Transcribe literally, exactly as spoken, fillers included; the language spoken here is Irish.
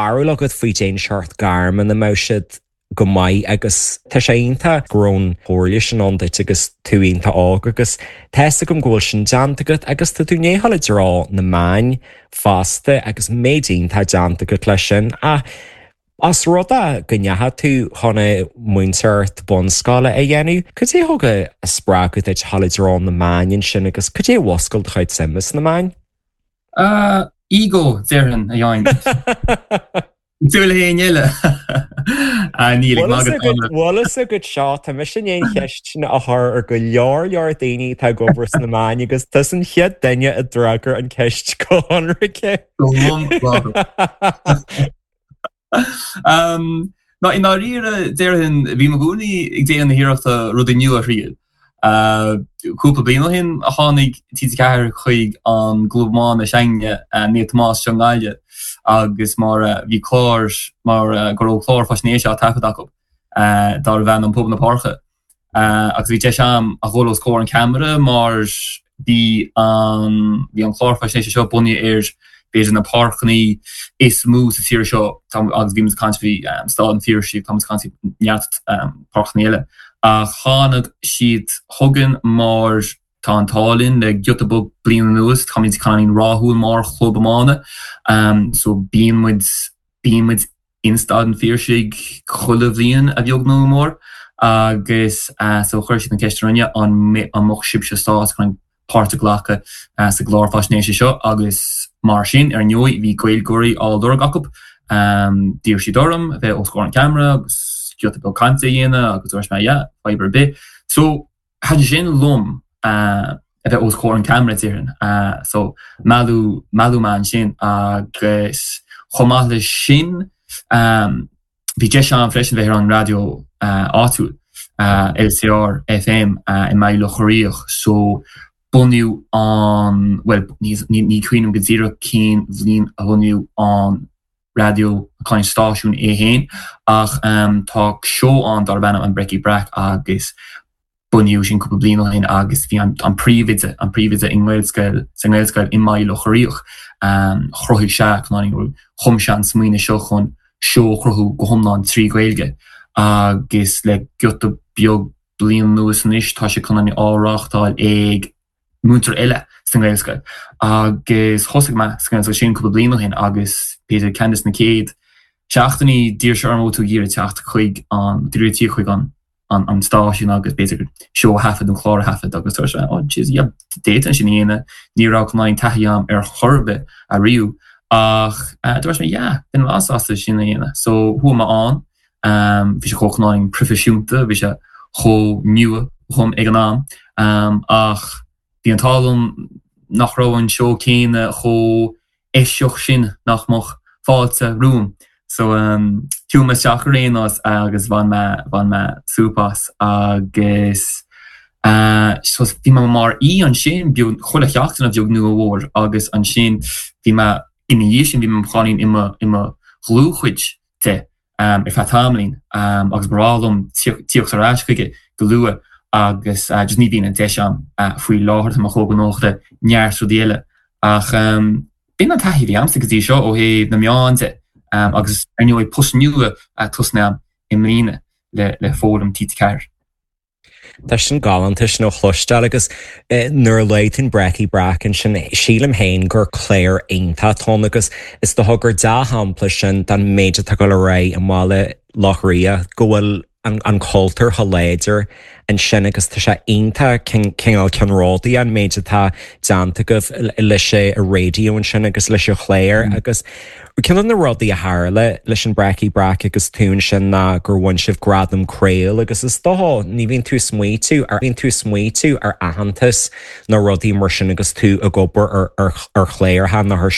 barúil agat faoi cén seort gairm ina mbeadh siad go maith agus tá sé iontach go raibh an chomhairle sin ann duit agus tú iontach óg agus tá a fhios agam go bhfuil sin déanta agat agus tá tú i ndiaidh dul i dtreo na meáin fosta agus méid iontach déanta agat leis sin ach as rud é go ndeachaigh tú chun múinteoireacht bunscoile a dhéanamh, cad é thug a spreagadh duit dul i dtreo na meáin ansin agus cad é a mhúscail do chuid suime sna meáin? Uh, ego déarfainn a Sheáin. Dúil héin eile Níl Bhfuil a fhios agat seo tá mise i ndiaidh an cheist sin a chur ar go leor leor daoine atá ag obair sna meáin agus tusa an chéad duine a d'fhreagair an ceist go hionraice. Um, Ná i ndáiríre déarfainn bhí mé i gcónaí ag déanamh na hiarrachta rudaí nua a thriail. Cúpla bliain ó shin a tháinig T G ceathair chuig an gclub iomána s'againne, Naomh Tomás seo i nGaillimh agus mar bhí clár mar go raibh clár faisnéise á taifead acu darbh ainm Puball na Páirce agus bhí deis agam a dhul os comhair an cheamara mar bhí an bhí an clár faisnéise seo bunaithe ar b'fhéidir na páirceanna is mó sa tír seo agus bhí muid ag caint faoi Staid an Phiarsaigh, tá muid ag caint faoi neart páirceanna eile. Ach tháinig siad chugainn mar tá an t-ádh linn le giota beag bliain anuas, táimid cineáilín rathúil mar chlub iomána so bíonn muid bíonn muid in Staid an Phiarsaigh chuile bhliain a bheag nó a mhór agus so chuir siad an ceist orainne an mbeadh sibhse sásta chun páirt a ghlacadh sa gclár faisnéise seo agus mar sin, ar ndóigh, bhí Gaeilgeoirí á lorg acu. D'iarr siad orm a bheith os comhair an cheamara agus giota beag cainte a dhéanamh agus dúirt mé yeah, fadhb ar bith. So, thaitin sin liom a bheith os comhair an cheamara, déarfainn. So, mealladh, mealladh mé ansin agus chomh maith leis sin, bhí deis agam freisin bheith ar an raidió áitiúil, L C R F M i mBaile Locha Riach. So, bunaíodh an, bhuel, ní cuimhin liom go díreach cén bhliain a bunaíodh an raidió, an stáisiún é féin, ach tá seó ann darb ainm An Breicí Breac agus bunaíodh sin cúpla bliain ó shin agus bhí an príomhoide, an príomhoide i nGaelscoil, sa nGaelscoil i mBaile Locha Riach, chruthaigh sé, chum sé an smaoineamh seo chun seó a chruthú go hiomlán trí Ghaeilge agus le giota beag bliain anuas anois tá sé chun á reáchtáil ag múinteoir eile sa nGaelscoil agus thosaigh mé sa nGaelscoil sin cúpla bliain ó shin agus b'fhéidir ceann de na chéad seachtainí d'iarr sé orm an bhfuil tú ag iarraidh teacht chuig an d'iarraidh tíocht chuig an an stáisiún agus b'fhéidir seó a thaifead nó clár a thaifead agus dúirt sé oh jeez yeah d'fhéadfainn sin a dhéanamh ní raibh cineál taithí agam ar chor ar bith ariamh ach dúirt mé yeah bheinn an-sásta sin a dhéanamh so chuaigh mé ann Bhí sé chomh cineáilín proifisiúnta, bhí sé chomh nua dhom ag an am ach bhí an t-ádh liom nach raibh an seó céanna chomh eisiach sin nach mbeadh fáilte romham. So chuaigh mé isteach ar aon nós agus bhain mé bhain mé súp as agus so bhí mé mar aoi ansin beag chuile sheachtain a bheag nó a mhór agus ansin bhí mé ina dhiaidh sin bhí mé cineáilín i mo i mo dhlúthchuid de ar feadh tamaillín agus ba bhreá liom tíocht ar ais chuige go luath agus just ní bhíonn an deis agam faoi láthair, tá mé chomh gnóthach le neart rudaí eile. Ach b'in an taithí a bhí agamsa go dtí seo ó thaobh na meán de agus ar ndóigh post nua tosnaithe agam i mbliana le Foghlaim T G ceathair. Tá sin galánta sin a chloisteáil agus nuair a luaigh tú an Breicí Breac ansin, sílim féin gur clár iontach atá ann agus is dócha gur dea-shampla sin den méid atá ag dul ar aghaidh i mBaile Locha Riach, go bhfuil an cultúr chomh láidir ansin agus tá sé iontach cineál ceannródaí an méid atá déanta agaibh leis an raidió ansin agus leis an chlár agus Ceann de na rudaí a tharla leis an Breicí Breac agus tú ansin ná gur bhain sibh gradam Craol agus is dócha ní bhíonn tú ag smaoitiú ar bhíonn tú ag smaoitiú ar aitheantas nó rudaí mar sin agus tú ag obair ar ar chláracha nó ar